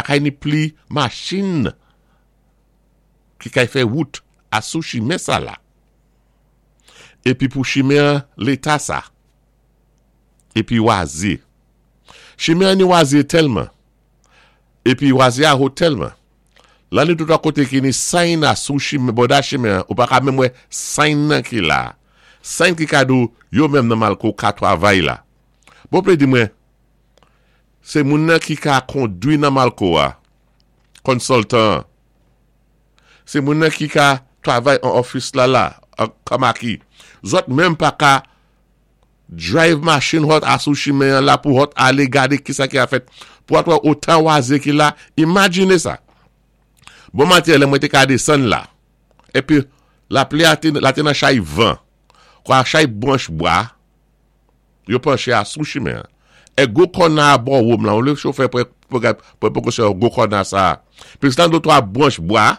kay ni pli machin ki kay fè wout asou chimen sa la. Épi pou chimen an léta sa. Épi wazé. Chimen an ni wazé tèlman. Épi wazé a ho tèlman. La ni tout a koté ki ni sign asou chimen, bòda chimen an, ou pa ka menm wè sign nan ki la. Sign ki ka di w yo menm nan Malko ka twavay la. Bon plé di mwen, sé moun nan ki ka kondwi nan Malko a, consultant an. Sé moun nan ki ka twavay an office la la, an Kamaki. Zòt menm pa ka drive machin hòt asou chimen an la pou hòt alé gadé kisa ki a fèt pou at wè otan wazé ki la, imajiné sa. Bon maten lè mwen té ka desann la, épi lapli a té la té nan chay van, kwa chay branch bwa yo panché asou chimen an. E gwo kòna a bò wom lan, olye chofè pran pran prekosyon gwo kòna sa a, plis lan dotwa branch bwa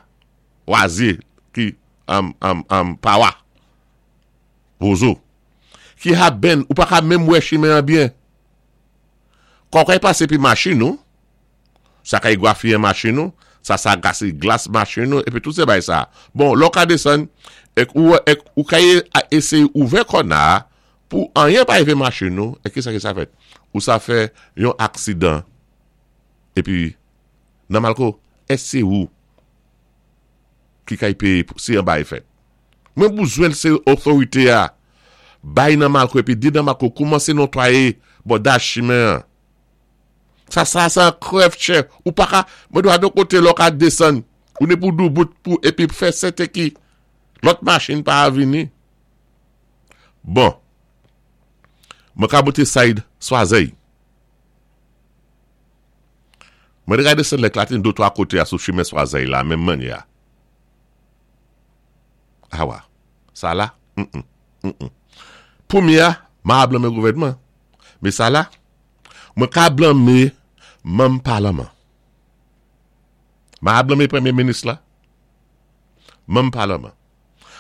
waze ki am am am pawa. Wozo. Ki ha benn, ou pa ka menm wè chimen an byen. Kò kay pasé pi machin ou, sa kay gwafiyen machin ou, sa sa gase glas machin ou, épi tout sé bay sa. Bon, lè w ka desann, èk ou wè, èk ou kay éséyé ouvè kòna a, pou anyen pa rivé machin ou, èk kisa ki sa fèt? Ou sa fè yon aksidan. Épi, nan Malko, èk sé ou ki kay péyé pou si anba y fèt? Mwen bouzwen se otorite a bay nan malko epi di nan malko koumanse notwaye bòda chimen an. Sa sa se an krèv chè ou pa ka mwen dwa don kote lè w ka desann ou ne pou doubout pou epi fè sèten ki lòt machin pa vini. Bon mwen ka moute said swazèy. Mwen te ka desann lè klatin do 3 kote a sou chimen swazèy la menm mannyè a. Awa, sa la, mm-mm, mm-mm. Pou mi a, ma a blanme gouvènman. Me sa la, mwen ka blanme manm palaman. Ma a blanme premye minis la, manm palaman.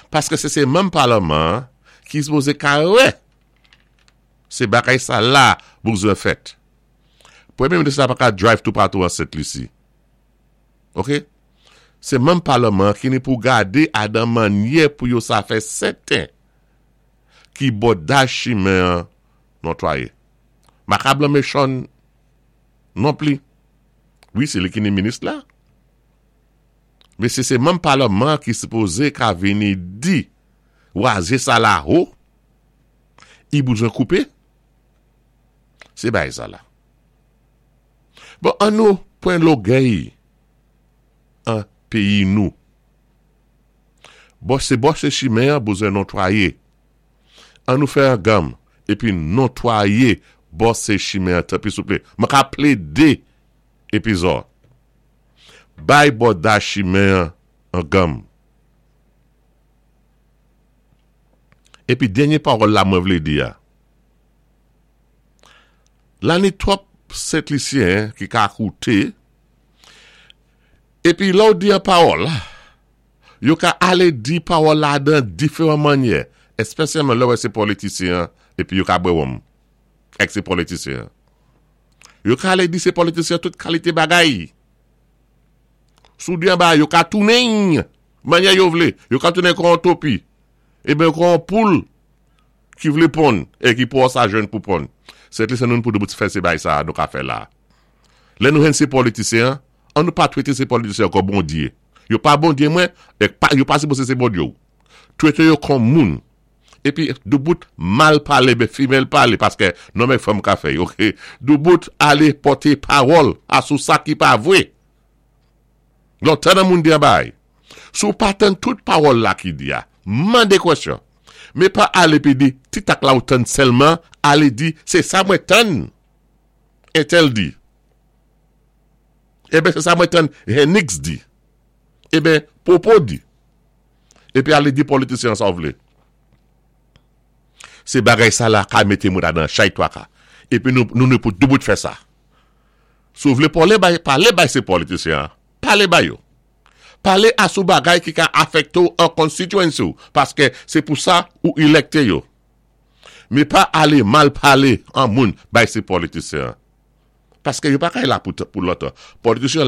Paske se se manm palaman ki sipoze ka wè se bagay sa la bouzwen fèt. Premye minis la pa ka drive toupatou an Sent Lisi. Ok. Se manm palman an ki ni pou gade adan mannyè pou yo sa fè sèten ki bòdaj chimen an notwaye. Maka blanme Sean non pli. Wi se li ki ni minis la. Men se se manm palman an ki sipoze ka vini di waze sa la ho i bouzwen koupe. Se bay sa la. Bon an nou pwen logèy an peyi nou. Bon se bòse chimen an bouzen nontwaye. An nou fè an ganm epi nontwaye bòse chimen an tanpri souple. Mwen ka plede epizò. Bay bòda chimen an an ganm. Epi dènye pawòl la mwen vle di a. La ni twòp sentlisyen ki ka koute, epi lè w di yon pawòl, yo ka ale di pawòl la dan diferan mannyè, espesyalman lè w wè se politisyen an epi yo ka bwè wonm ak se politisyen an. Yo ka ale di se politisyen an tout kalite bagay. Si w di yon bagay, yo ka tounen l mannyè yo vle. Yo ka tounen kon yon topi, eben kon yon poul. Ki vlé ponn e ki pou sa jwenn pou ponn. Sent Lisen nou pou nou fè sé bay sa a nou ka fè la a. Lè nou jwenn sé politisyen an, an nou pa twete sé politisyen an kon Bondye. Yo pa Bondye mwen, e pa yo pa sipose sé Bondye ou. Twete yo kon moun. Epi doubout mal pale ben female pale paskè nonm ak fanm ka fè y ok. Doubout ale pòte pawòl a sou sa ki pa vwe. Lontan nan moun di an bay. Si w pa tann tout pawòl la ki di a, mande kwèsyon. Men pa ale pi di, ti tak la ou tann sèlman, ale di, se sa mwen tann entèl di. Eben se sa mwen tann Hennix di. Eben Popo di. Epi ale di politisyen an sa w vle. Se bagay sa la ka mete moun adan chay twaka. Epi nou nou pou doubout fè sa. Si w vle pale bay, pale bay se politisyen an. Pale ba yo. Pale a sou bagay ki ka afekte w an constituency w, paske se pou sa ou elekte yo. Men pa ale mal pale an moun bay se politisyen an. Paske yo pa kay la pou lontan. Politisyen la.